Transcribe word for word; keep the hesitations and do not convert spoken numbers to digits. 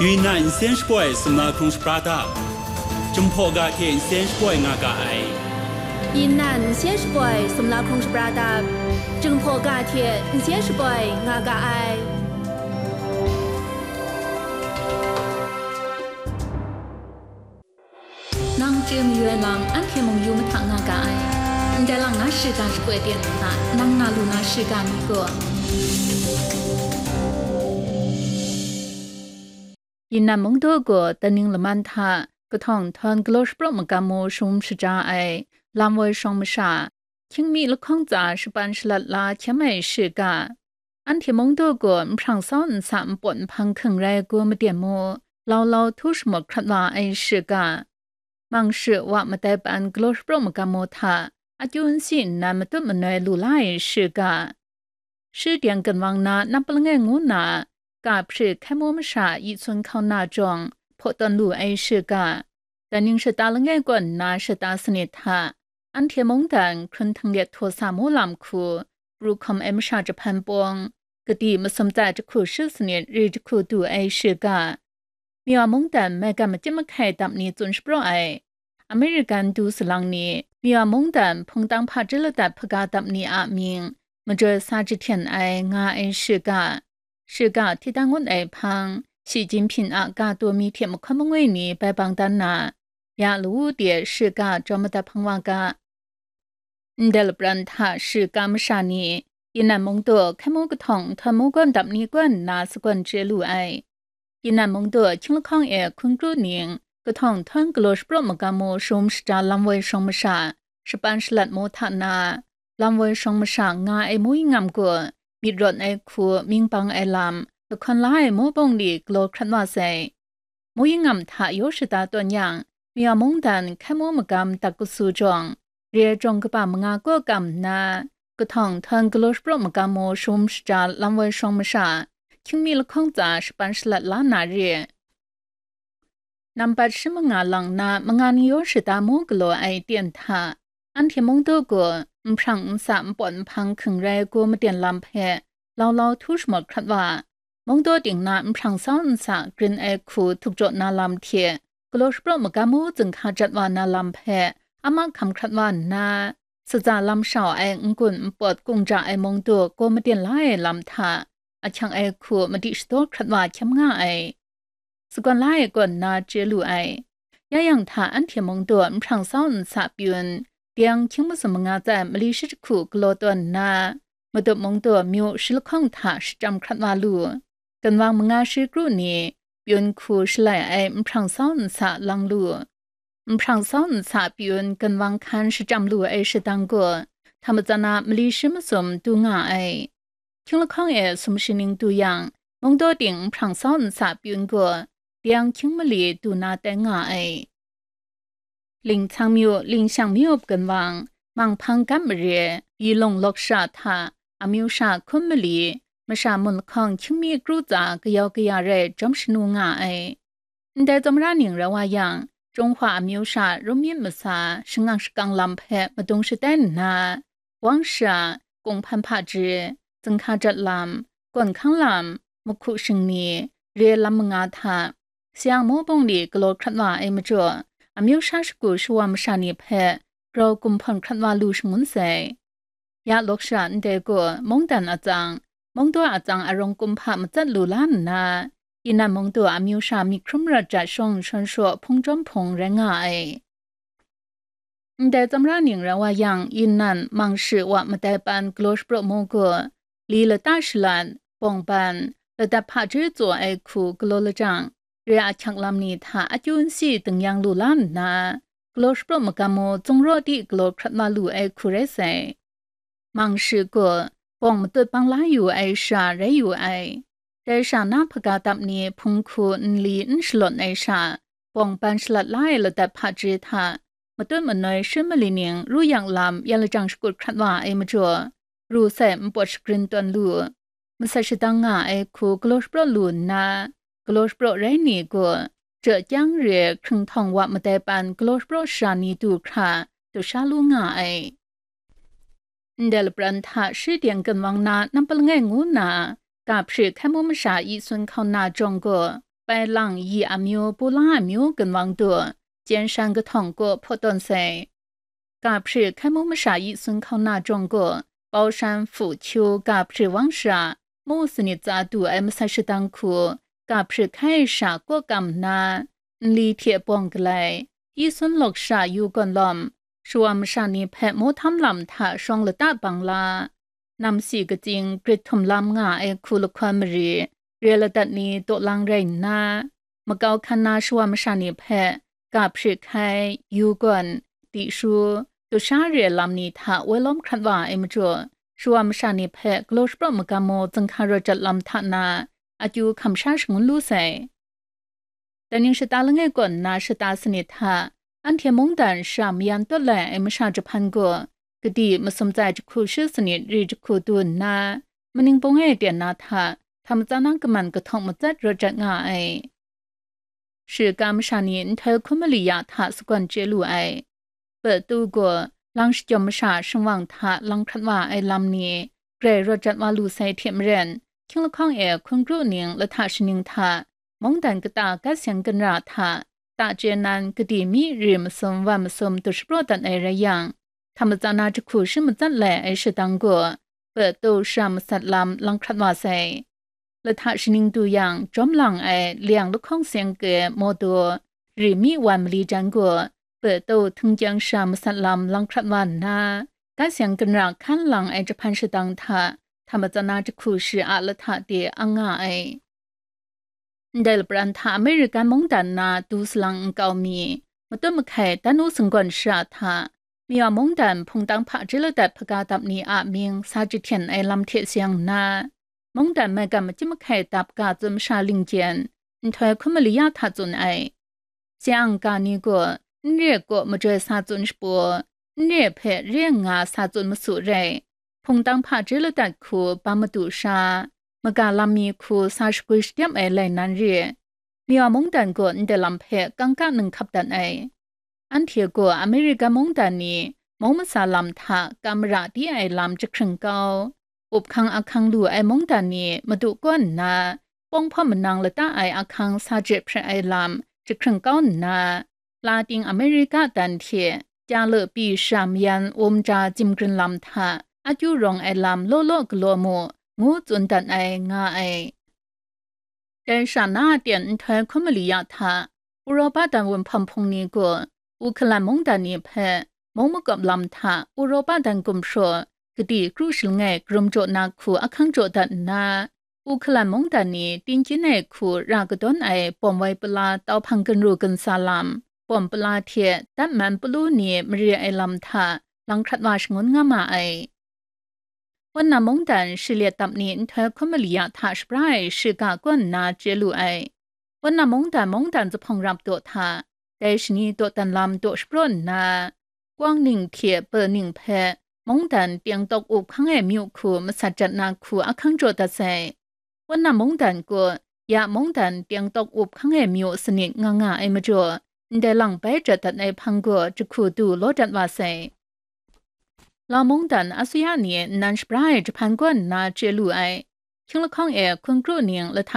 Yunnan nsen shapoi sumla hkrung shapra dap, Jinghpaw ga hte nsen shapoi nga ga ai. Yunnan nsen shapoi sumla hkrung shapra dap, Jinghpaw ga hte nsen shapoi nga ga ai. Nang chye mayu ai lam, anhte mung yu mahta nga ga ai. Ndai lang na shiga shapoi ten hta, nang na lu na shiga mi gaw. Yunnan mungdaw gaw daning laman hta kahtawng htawn galaw shapraw magam mu shawm shaja ai lam woi shawng masha, hkying mi lahkawng tsa shapan shalat la hkyam ai shiga, anhte mungdaw gaw nhprang sau nsa npawt nhpang hking rai gu maden mu, lau lau htu shamut hkrat wa ai shiga, mang shi wa madai pan galaw shapraw magam mu hta akyu nsi nnan matut manoi lu la ai shiga, shi teng ginwang na nap langai ngu na, ga hpri hkai mu masha yi sun hkau na jawng hpaw tawn lu ai shiga, daning shata langai kaw nna shata sanit hta, anhte mungdan hkrun htinglet htaw sa mu lam hku, pru hkawm ai masha jahpan pawng, kadi masum tsai jahku shi sanit ri jahku du ai shiga, Miwa mungdan maigan machyit mahkai dap ni tsun shapraw ai, American du salang ni, Miwa mungdan hpungtang hpaji ladat hpaga dap ni a mying majoi sa jahten ai nga ai shiga, shiga hti dang ngut ai hpang, Shi Jinping a ga taw mi hte mahkawn mangwi ni bai bang dan na, ya lawu de shiga jawm madat hpang wa ga. Ndai lapran hta shiga masha ni, Yunnan mungdaw hkai mu kahtawng nhtawm mu gawn dap ni gaw nna sagawn chye lu ai. Yunnan mungdaw hkying lahkawng e hkun kru ning, kahtawng htawn galaw shapraw magam mu shawm shaja lam woi shawng masha, shapan shalat mu hta na, lam woi shawng masha nga ai mu yingam gaw, myit rawt ai hku, mying bang ai lam, lahkawn la ai mu bawng li galaw hkrat wa sai. Mu yingam hta yaw shada tawn yang, Miwa mungdan hkai mu magam dak kasu jawng, re ai jawng kaba manga kaw kam nna, kahtawng htawn galaw shapraw magam mu shawm shaja lam woi shawng masha, hkying mi lahkawng tsa shapan shalat la na re. Nambat shi manga lang na manga ni yaw shada mu galaw ai ten hta, anhte mungdaw gaw nhprang nsa npawt nhpang hking rai gu maden lam hpe lau lau htu shamawt hkrat wa, mungdaw ting na nhprang sau nsa grin ai hku htuk jaw na lam hte galaw shapraw magam mu zunghka jat wa na lam hpe a mahkam hkrat wa nna, satsa lam shau ai n-gun npawt kung ja ai mungdaw gaw maden la ai lam hta, ahkyang ai hku madi shadaw hkrat wa hkyam nga ai. Sagawn la ai kaw nna chye lu ai. Ya yang hta anhte mungdaw nhprang sau nsa pyun, deng hkying masum manga tsai mali shi jahku galaw tawn nna, Madup mungdaw myu shi lahkawng hta shachyam hkrat wa lu. Ginwang manga shi kru ni pyun hku shalai ai nhprang sau nsa lang lu. Nhprang sau nsa pyun ginwang hkan shachyam lu ai shadang gaw, hta matsan a mali shi masum du nga ai. Hkying lahkawng e sumshi ning du yang, mungdaw ting nhprang sau nsa pyun gaw, deng hkying mali du na tai nga ai. Lingchang myu, Lingshang myu ginwang, manghpang gam mare, yi lawng lawk sha hta, amyu sha hkum mali, masha mun lahkawng hkying mi kru tsa kayau kaya rai jawm shanu nga ai. Ndai tsawmra ning rai wa yang, Jinghpaw amyu sha rum myit masa, shangak shakang lam hpe madung shatai nna, Wang sha, Kung hpan hpaji, zunghka jat lam, gawn hkang lam, mahku shingni, re lam manga hta, sayang mu bawng li galaw hkrat wa ai majaw, amyu sha shagu shawa masha ni hpe grau gumhpawn hkrat wa lu shangun sai. Ya lawk sha ndai gaw mungdan atsang, mungdaw atsang arawng kumhpa matsat lu la nna, Yunnan mungdaw amyu sha myit hkrum rat ja shawng shawn shaw hpung jawm hpung rai nga ai. Ndai tsawmra ning rai wa yang, Yunnan mang shi wa madai pan galaw shapraw mu gaw, li lata shalat, bawng ban, ladat hpaji tsaw ai hku galaw lajang, re ahkyak lam ni hta akyu nsi dingyang lu la nna, galaw shapraw magam mu tsung raw di galaw hkrat wa lu ai hku rai sai. Mang shi gaw, bawng matut bang la yu ai sha rai yu ai. Dai sha na hpaga dap ni hpung hku nli n shalawt ai sha, bawng ban shalat la ai ladat hpaji hta, matut manoi shi mali ning ru yang lam yan lajang shakut hkrat wa ai majaw, ru sai npawt shagrin tawn lu. Masat shadang nga ai hku galaw shapraw lu nna, galaw shapraw rai ni gaw, ja kyang re hkrung htawng wa madai pan galaw shapraw sha ni du hkra, du sha lu nga ai. Ndai lapran hta shi teng ginwang na nampa langai ngu na, ga hpri hkai mu masha yi sun hkau na jawng gaw, pai lang yi amyu, pu la amyu ginwang du, jen shan kahtawng kaw hpaw tawn sai. Ga hpri hkai mung masha yi sun hkauna jawng gaw, Baoshan, Fuqiu ga hpri wang shara, mu sanit tsa du ai masat shadang hku, ga hpri hkai sha kaw kam nna, nli hte bawng galai, yi sun lawk sha yu gawn lawm, shawa masha ni hpe mawhtam lam hta shawng lata bang la, namsi katsing grit htum lam nga ai hku lahkawn mari, re ladat ni dawlang rai nna, makau hkan na shawa masha ni hpe ga hpri hkai, yu gawn, di shu, tusha re lam ni hta woi lawm hkrat wa ai majaw, shawa masha ni hpe galaw shapraw magam mu zinghka rawt jat lam hta na, akyu hkam sha shangun lu sai. Dai ning shata langai kaw nna shata sanit hta, anhte mungdan sha mayan tawt lai ai masha jahpan gaw, kadi masum tsai jahku shi sanit ri jahku du nna, maning bung e ten na hta, hta matsan na kaman kahtawng matsat rawt jat nga ai. Shiga masha ni nhtoi hkun mali ya hta sagawn chye lu ai. Petu gaw, lang shajawm masha shingwang hta lang hkrat wa ai lam ni, grai rawt jat wa lu sai hte maren, hkying lahkawng e hkun kru ning lahta shaning hta, mungdan kata gat seng ginra hta, ta chye nan kadi mi ri masum wan masum du shapraw dat ai rai yang, hta matsan na jahku shi matsat lai ai shadang gaw, petu sha masat lam lang hkrat wa sai. Lahta shaning du yang, jawm lang ai liang lahkawng seng ke mawdaw, ri mi wan mali jan gaw, petu htingkyang sha masat lam lang hkrat wa nna, gat seng ginra hkan lang ai jahpan shadang hta, hta matsan na jahku shi a lahta de ang nga ai. Ndai lapran hta American mungdan na du salang nkau mi, matut mahkai dan u sanggawn shara hta, Miwa mungdan hpungtang hpaji ladat hpaga dap ni a mying sa jahten ai lam hte seng nna, mungdan maigan machyi mahkai dap ga tsun masha lingjen, nhtoi hkun mali ya hta tsun ai. Seng ga ni gaw, n re kaw majoi sa tsun shapaw, n re hpe re nga sa tsun masu rai, hpungtang hpaji ladat hku bam madu sha, maga lam mi hku sa shagwi shadem ai lai nan re. Miwa mungdan gaw ndai lam hpe kangka nang hkap dat ai. Anhte gaw America mungdan ni mung masa lam hta kam mara di ai lam jahkring kau, up hkang ahkang lu ai mungdan ni madu kaw nna, pawng hpawm manang lata ai ahkang sa je hpre ai lam jahkring kau nna, Latin America dan hte ja le pyi sha mayan um ja jimgrin lam hta akyu rawng ai lam law law galaw mu, ngu tsun dat ai nga ai. Dai sha na a ten nhtoi hkun mali ya hta, Uropa dan wunhpawm hpung ni gaw, Uhkalan mungdan ni hpe, mung makawp lam hta Uropa dan gumhpraw, kadi kru shalangai karum jaw na hku ahkang jaw dat nna, Uhkalan mungdan ni tingkyin ai hku ra kadawn ai bawm wai pala tau hpang ginru ginsa lam, bawm pala hte dat man palu ni mare ai lam hta lang hkrat wa shangun nga ma ai. Wunna mungdan shi let dap ni nhtoi hkun mali ya hta shapra ai shiga kaw nna chye lu ai. Wunna mungdan, mungdan zuphpawng rap daw hta, dai shani dawdan lam daw shapraw nna, Kuang ning hte Pe ning hpe mungdan teng tawk up hkang ai myu hku masat jat na hku ahkang jaw dat sai. Wunna mungdan gaw, ya mungdan teng tawk up hkang ai myu sanit nga nga ai majaw, ndai lang bai jat dat ai hpang gaw jahku du law dat wa sai. Lau mungdan asuya ni nnan shapra ai jahpan gaw nna chye lu ai. Hkying lahkawng e hkun kru ning lahta